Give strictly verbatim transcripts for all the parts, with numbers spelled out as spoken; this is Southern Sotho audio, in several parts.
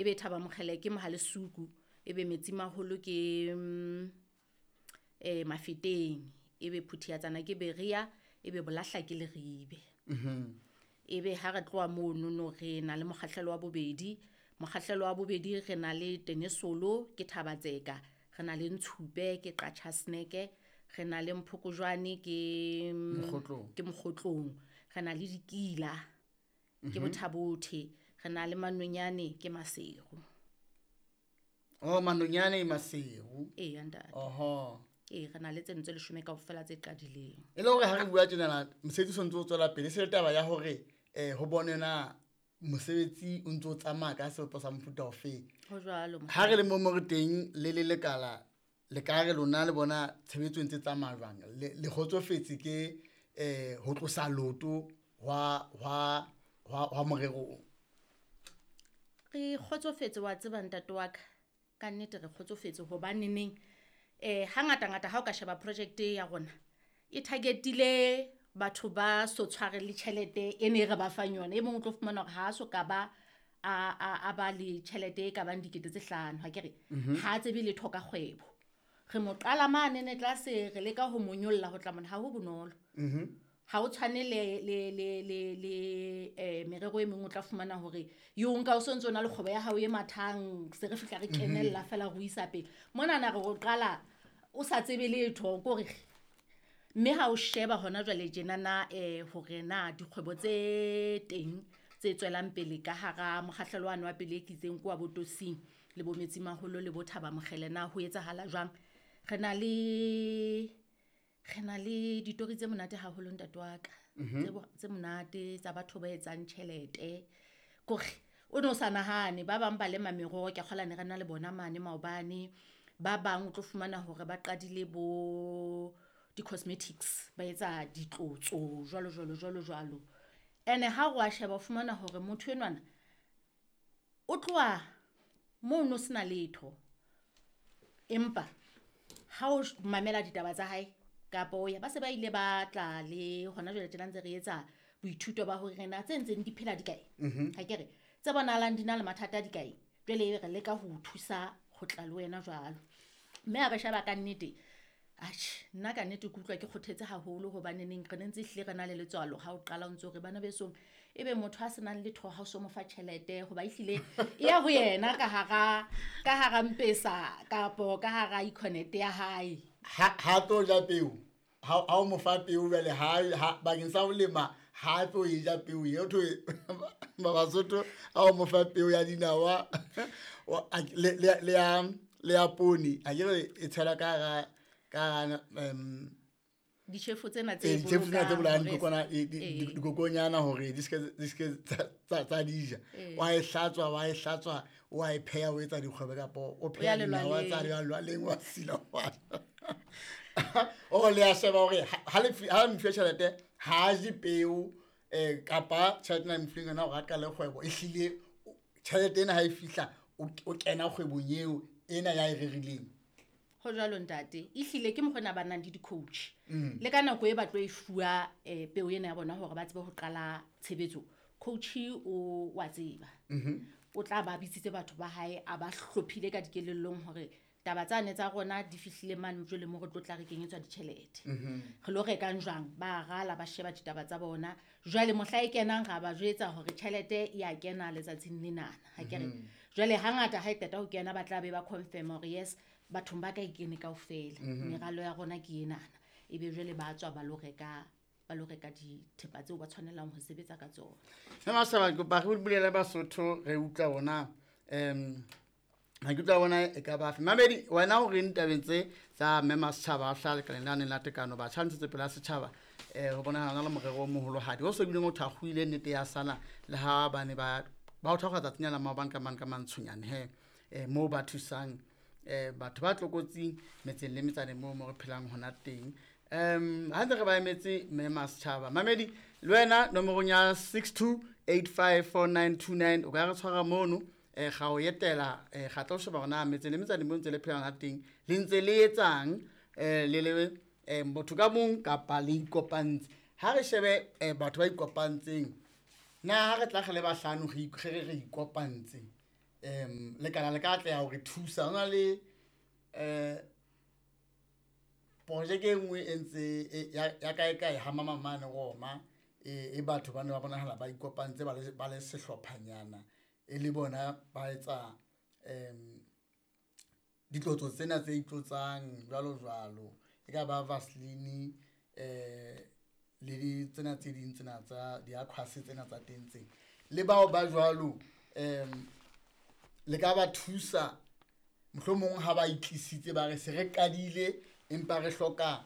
Ebe Thaba Mokgele ke Mohalesuku, ebe Metsimaholo ke mm, eh Mafeteng, ebe Phuthiatsana ke Berea, ebe Bolahla ke Leribe. Ebe ha re tloha monono re na le mokgahlelo wa bobedi. Mokgahlelo wa bobedi re na le Tenesolo ke Thabatseka, re na le Ntshupe ke Qachaseneke, re na le Mphokojwane ke mm, Mokgotlong. ke Mokgotlong, re na le Dikila ke Bothabothe, re na le Manonyane ke Maseru. Oh, Manonyane Maseru. Ee, ntate. Oho. Ee, re na le tseno tse leshome kaofela tse qadileng. E le hore ha re bua tjenana mosebetsi o sontso o tswela pele, e se le taba ya hore um ho bone na mosebetsi o ntso o tsamaya ka sebopeho sa mofuta ofeng. Ho jwalo. Ha re le mo mo re teng le le lekala, le ka re lona le bona tshebetso e ntse tsamaya jwang? Le le kgotsofetse ke um ho tlosa loto hwa hwa hwa hwa morero o? Re kgotsofetse wa tseba ntate wa ka, ka nnete re kgotsofetse hobaneneng eh hangata-ngata ha o ka sheba project ya rona e targetile batho ba so tshware le tjhelete e ne re ba fang yona. E mong o tlo fumana hore ha a so ka ba a, a, a ba le tjhelete e ka bang dikete tse hlano, ha ke re ha a tsebe letho ka kgwebo. Re mo qala mane ne tlase, re leka ho mo nyolla ho tla mona, ha ho bonolo. Ha o tshwane le le le le le eh merero e meng o tla fumana hore yo nka o sontso na le kgwebo ya hao e mathang, se re fihla re kenella fela re o isa pele. Monana re o qala o sa tsebe letho kore, mme ha o sheba hona jwale tjenana eh hore na dikgwebo tse teng tse tswelang pele ka hara mokgahlelo wane wa pele e kitseng kwa Botosing le bo Metsimaholo le bo Thaba Mokgele na ho etsahala jwang. Re na le re na le ditori tse monate haholo ntate wa ka, tse bo- tse monate tsa batho ba etsang tjhelete. Kore o no sa nahane, ba bang ba lema meroho, ke a kgolwa ne re na le bona mane maobane. Ba bang o tlo fumana hore ba qadile bo di-cosmetics, ba etsa ditlotso jwalo jwalo jwalo jwalo. Ene ha o a sheba o fumana hore motho enwana o tloha mono sena letho, empa ha o mamela ditaba tsa hae kapa o ya ba se ba ile ba tla le hona jwale tjena ntse re etsa boithuto ba hore na tse ntseng di phela di kae. Ha ke re tse bonahalang di na le mathata di kae, jwale re leka ho o thusa ho tla le wena jwalo. Mme ha re sheba ka nnete, atjhe nna ka nnete ke utlwa ke kgothetse haholo hobaneneng re ne ntse ehlile re na le letswalo ha o qala o ntso re bana besong, ebe motho a senang letho ha o so mo fa tjhelete hoba ehlile e ya ho yena ka hara, ka hara Mpesa kapo ka hara Econet ya hae. Ha, ha tlo ja peo, ha, ha o mo fa peo jwale, ha, ha, bakeng sa ho lema, ha tlo e ja peo eo, thwe, ba Basotho, ha o mo fa peo ya dinawa, wa, a, le, le, le ya, le ya poone, a ke re e tshela ka hara, ka hara, em, Ditjhefo tsena tse Eh, ditjhefo tsena tse bolayang bolokang dikokwana, hore eh, di-, Eh. di-, dikokonyana hore di ske, di ske tsa, tsa, tsa di ja. Eh. Wa e hlatswa, wa e hlatswa, wa e pheha, o etsa dikgwebo kapa o O pheha ya dinawa tsa lelwaleng. lelwaleng, wa sila wa. O le a sheba hore ha, ha le fi-, ha le mfe tjhelete, ha a je peo, eh, kapa tjhelete ena e mo fileng yona hore a qale kgwebo, ehlile tjhelete ena ha e fihla, o, o kena kgwebong eo ena ya e rerileng. Ho jwalo ntate, ehlile ke mokgwa ona ba nang le di-coach. Mm. Le ka nako e ba tlo e fuwa, eh, peo ena ya bona hore ba tsebe ho qala tshebetso, coach o wa tseba. Mm-hmm. O tla ba bitsitse batho ba hae, a ba hlophile ka dikelellong hore taba tsane tsa rona di fihlile mane jwale mo re tlo tla re kenyetswa ditjhelete. Mm-hmm. Re lo rekang jwang? Ba rala, ba sheba ditaba tsa bona. Jwale mohla e kenang ra ba jwetsa hore tjhelete e a kena letsatsing lenana, ha ke re. Mm-hmm. Jwale hangata ha e qeta ho kena ba tla be ba confirm hore yes, bathong ba ka e kene kaofela. Mm-hmm. Meralo ya rona ke enana. Ebe jwale ba tswa ba lo reka, ba lo reka dithepa tseo ba tshwanelang ho sebetsa ka tsona. Mme Masaba, ke kopa re bulele Basotho, re utlwa bona, em, ha ke utlwa bona e ka ba fe. Mamedi, wena o reng tabeng tse tsa Mme Masetjhaba a hlaha lekaleng la neng la tekano, batjha ntshetse pele ya setjhaba, eh, ho bonahala na le morero o moholohadi o so bileng o thakgohile nnete ya sala le ha ba ne ba, ba o thakgoha tsatsing la maobane ka mane ka mantshonyane he, eh, moo ba thusang, eh, batho ba tlokotsing metseng le metsaneng moo mo re phelang hona teng. Em, ha ntse re ba emetse Mme Masetjhaba. Mamedi, le wena nomorong ya six two eight five four nine two nine o ka re tshwara mono, eh, ga o etela, eh, ga tlo sheba hore na metseng le metsaneng moo ntse le phelang ha teng, le ntse le etsang, eh, le le, eh, motho ka mong kapa le ikopantse. Ha re shebe, eh, batho ba ikopantseng, na ha re tla re le bahlano re ik-, re re re ikopantse, um lekala le ka atleha hore thusa. Ho na le um projeke e nngwe e ntse ya kae kae ha mamamane Roma, e batho ba ne ba bonahala ba ikopantse ba le sehlophanyana, e le bona ba etsa um ditlotso tsena tse itlotsang jwalo jwalo, e ka ba vaseline um le tsena tse ding tsena tsa di-aquas tsena tsa teng tse. Le bao ba jwalo um le ka ba thusa mohlomong ha ba itlisitse ba re se re qadile empa re hloka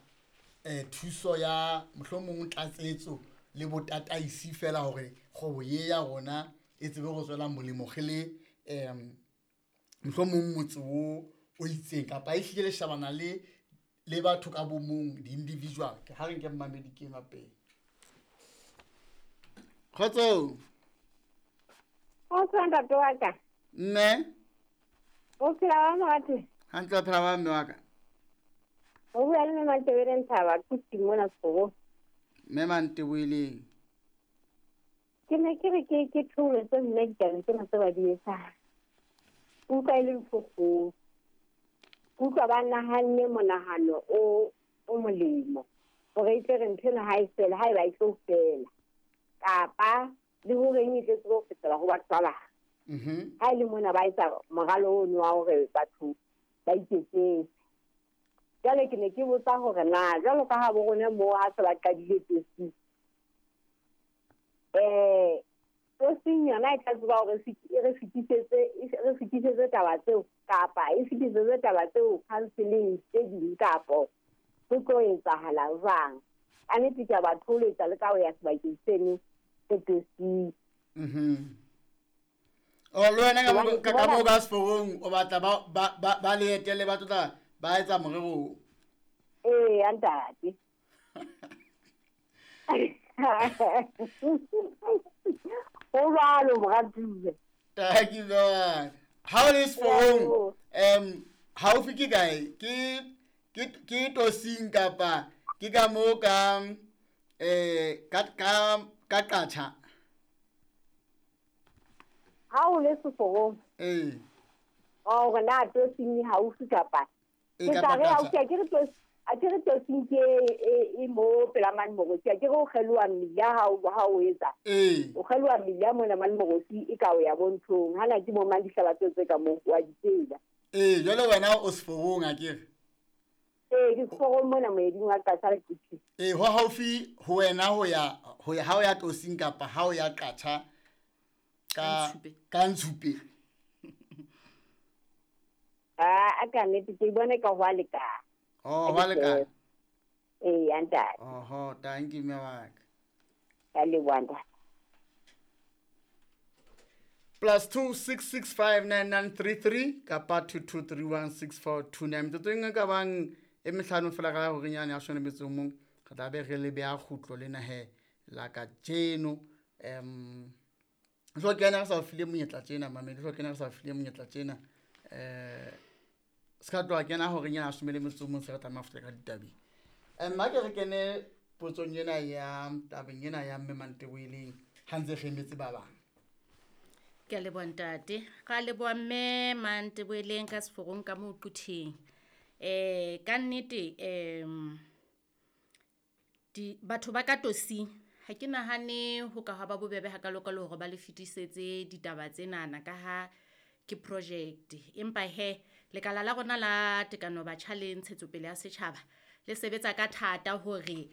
um thuso ya mohlomong tlatsetso le botataisi fela hore kgwebo ye ya rona e tsebe go tswela molemo re le um mohlomong motse o o itseng, kapa e hlile le shebana le le batho ka bo mong, di-individual. Ke ha re nke mmamedi ke enwa pele. Kgotso. Kgotso ntate wa ka. Mme. O phela wa morati? Hantle, o phela wa mme wa ka. O bua le mme Mantebele Nthaba, Kutu mona Sekgobo. Mme Mantebeleng. Ke ne ke re ke ke thoholetse mme ditabeng tsena tse ba di etsang. Utlwa e le ntho kgolo. Utlwa ba nahanne monahano o o molemo hore e tle re ntho ena ha e fela, ha eba e tlo fela, kapa le hore eng e tle tsebe ho fetela ho batho ba bang. Mhm. Ha e le mona ba etsa moralo ono wa hore batho ba iketsetse. Jwale ke ne ke botsa hore na jwalo ka ha bo rona moo ha se ba qadile tosi, eh tosing yona e tla tseba hore e re fetisetse, e re fetisetse taba tseo, kapa e fetisetse taba tseo counseling tse ding, kapo ho tlo etsahala jwang? Ka nnete ke a ba thoholetsa le ka ho ya sebakeng seno se tosing. Mhm. O le wena ka mo ka mo ka seforong o batla ba ba ba le etele ba tlotla ba etsa morero. Ee, ntate. Ho jwalo moratuwa. Thank you very much. Ha o le seforong, um haufi ke kae? Ke ke ke tosing kapa ke ka mo ka eh ka ka ka Qacha? Ha o le seforong. Ee. O re na tosing haufi kapa? E Ke kapa tla re Qacha. haufi, a ke re tos, a ke re tosing ke e e mo pela mane Morosi, a ke re o kgeloha mmila ha o ha o etsa. Ee. O kgeloha mmila mona mane Morosi e ka o ya bonthong. Hana ke mo mang dihlaba tseo tse ka moo wa di tseba. Ee, jwale wena o seforong a ke re? Ee, ke seforong mona moeding wa Qacha le Kutu. Ee, ho haufi ho wena ho ya ho ya ha o ya tosing kapa ha o ya Qacha ka ka Ntshupe. Ah, a ka nnete ke bone ka ho a lekana. Oh, ho a lekana. Ee, ntate. Oho, thank you mme wa ka. Ka leboha ntate. Plus two six six five nine nine three three kapa two two three one six four two nine. Metsotso e nngwe ka bang e mehlano fela ka hore nyane ya shone metso mong re tla be re le beha kgutlo lena he la kajeno. Um so kena re sa o file monyetla tjena mamedi, so kena re sa o file monyetla tjena. Eh se ka tloha kena hore nyana shome le metso mong se re tlameha ho fihla ka ditabeng. Nna ke re kene potsong ena ya tabeng ena ya mme Mantebeleng ha ntse re emetse ba bang. Ke a leboha ntate. Ra leboha mme Mantebeleng ka seforong ka moo Quthing. Eh ka nnete em di batho ba ka tosing ha ke nahane ho ka ha ba bobebe hakalo-kalo hore ba le fetisetse ditaba tsenana ka ha ke project. Empa he lekala la rona la tekano batjha le ntshetsopele ya setjhaba le sebetsa ka thata hore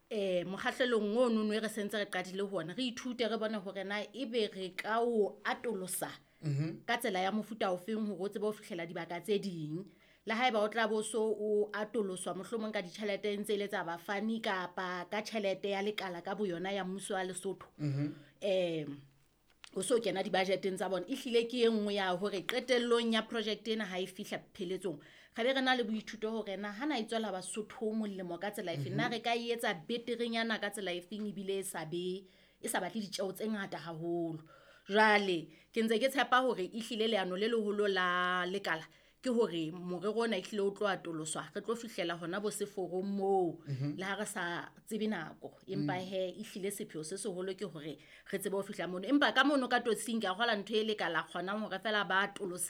eh mokgahlelong ono no e re sentse re qadile ho ona re ithute re bone hore na ebe re ka o atolosa Mhm. ka tsela ya mofuta ofeng hore o tsebe ho fihlela dibaka tse ding. Le haeba o tla bo so o atoloswa mohlomong ka ditjhelete ntse le tsa bafani kapa ka tjhelete ya lekala ka boyona ya mmuso wa Lesotho. Mhm. Eh o so kena di-budgeteng tsa bona. Ehlile ke e nngwe ya hore qetellong ya project ena ha e fihla pheletsong re be re na le boithuto hore na hana e tswela Basotho molemo ka tsela efe, na re ka e etsa beterenyana ka tsela efeng ebile e sa be e sa batle ditjeho tse ngata haholo. Jwale ke ntse ke tshepa hore ehlile leano le leholo la lekala Ke hore morero ona ehlile o tlo atoloswa, re tlo fihlela hona bo seforong moo le ha re sa tsebe nako. Empa hee ehlile sepheo se seholo ke hore re tsebe ho fihla mono. Empa ka mono ka totsing ke a kgola ntho e le ka la kgonang hore feela ba atolosetse.